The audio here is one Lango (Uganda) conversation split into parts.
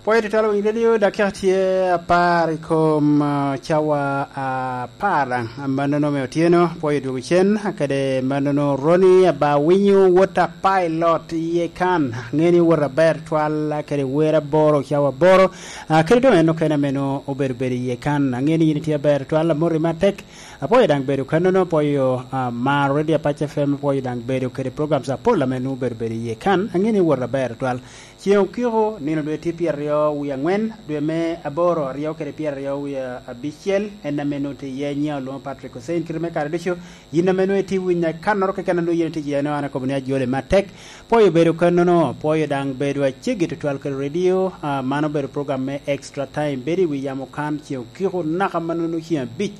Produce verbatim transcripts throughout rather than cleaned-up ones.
Pwoyo tutwal winy redio, dakika tye apar i kom, ah, cawa apar. Mannono me otyeno, pwoyo dwogo cen, kede mannono Roni aba winyo wot a pilot iye kan. Ngeni wot aber twal, kede wer aboro, cawa aboro. Ah, kede doŋ en okene ameno obedo bedo iye kan. Angeni yin itye aber twal, amoti matek. Apwoyo daŋ bedo kannono, apwoyo, ah, mar redio Apac F M, apwoyo daŋ bedo kede programs apol ame nwoŋo obedo bedo iye kan. Angeni wot aber twal. Ceŋ okiko, nino dwe tye pyeraryo wie angwen, dwe me aboro, aryo kede pyeraryo wie abicel, en ame nwoŋo tye iye, nyiŋa olwoŋo Patrick Hussein. Kite me kare ducu, yin ame nwoŋo itye winya kannoro keken a nwoŋo yin itye iye, an akobo ni ajole matek. Pwoyo bedo kannono, pwoyo daŋ bedo aceggi tutwal kede redio, ah, man obedo program me Extra Time, bedo i wi yamo kan ceŋ okiko naka mannono ceŋ abic.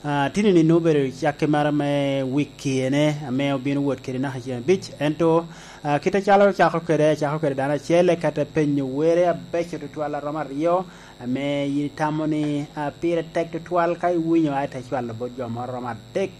Ah, tini-ni nwoŋo obedo cakke mara me wik kiene ame obino wot kede naka ceŋ abic, ento, ah, kit acalo ocako kede, acako kede dano acel, eka te penyo were abeco tutwal a romo aryo, ame yin itamo ni, ah, pire tek tutwal ka iwinyo, aye te cwalo bot jo moro romo adek.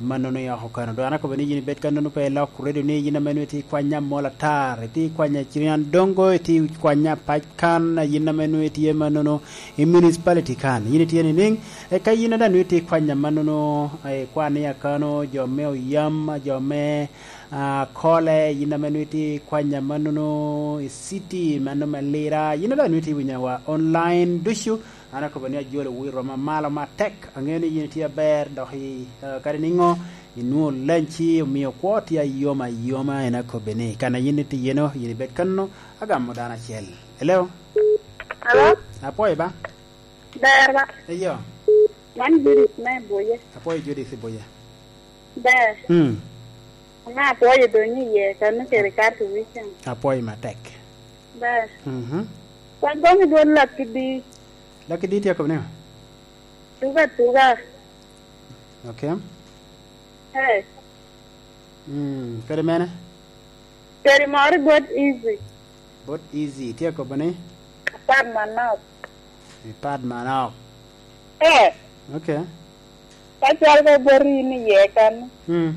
Mannono i oko kano. Dong an akobo ni yin ibed kannono pe ilok redio ni yin ame nwoŋo itye ikwanya mol atar, itye ikwanya Cirian Dongo, itye ikwanya Apac kan, yin ame nwoŋo itye mannono i municipality kan. Yin itye nining? Eka yin a daŋ nwoŋo itye ikwanya mannono, eh, ikwan i Akano, jo me Oyam, jo me, ah, Kole, yin ame nwoŋo itye ikwanya mannono i city, mano me Lira, yin a daŋ nwoŋo itye winyo wa online ducu, an akobo ni ajolo wi roma malo matek. Aŋeo ni yin itye aber, dok i, eh, kadi niŋo, inwoŋo lanci omio kwo tye ayom ayoma, en akobbi ni, kan a yin itye iyeno, yin ibed kanno, agamo dano acel. Hello? Hello? Apwoyo ba? Ber ba? Eyo. Man Judith me Buye. Apwoyo Judith i Buye. Ber. Hmm. Ŋa apwoyo dong iye, kano kede kato weekend. Apwoyo matek. Ber. Mhm. Wan gomo dwon Lucky D. Lucky D tye akobo ni? Tuga, tuga. Okay. Hey. Mm, kadi mene? Kadi moro bot easy. Bot easy, tye akobo ni? Apad manok. Ipad manok. Eh. Okay. Ka cal ka bot in iye kan. Mm.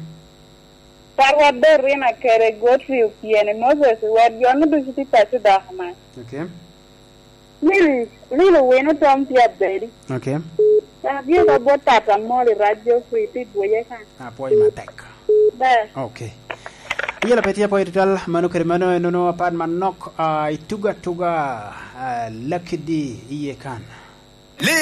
Karwa Dorina kede Godfrey Opiene, Moses Wet, jo-nu ducu tye paco dok man. Okay. Lil, Lil Owino Tom tye abedi. Okay. Dok agik ka bot Tata Moli Rac Geoffrey tye i Dwoye kan. Apwoyo matek. Ber. Okay. Yela pe tye apwoyo tutwal, mano kede mano enono apat manok, ah, ituga tuga, ah, Lucky D iye kan.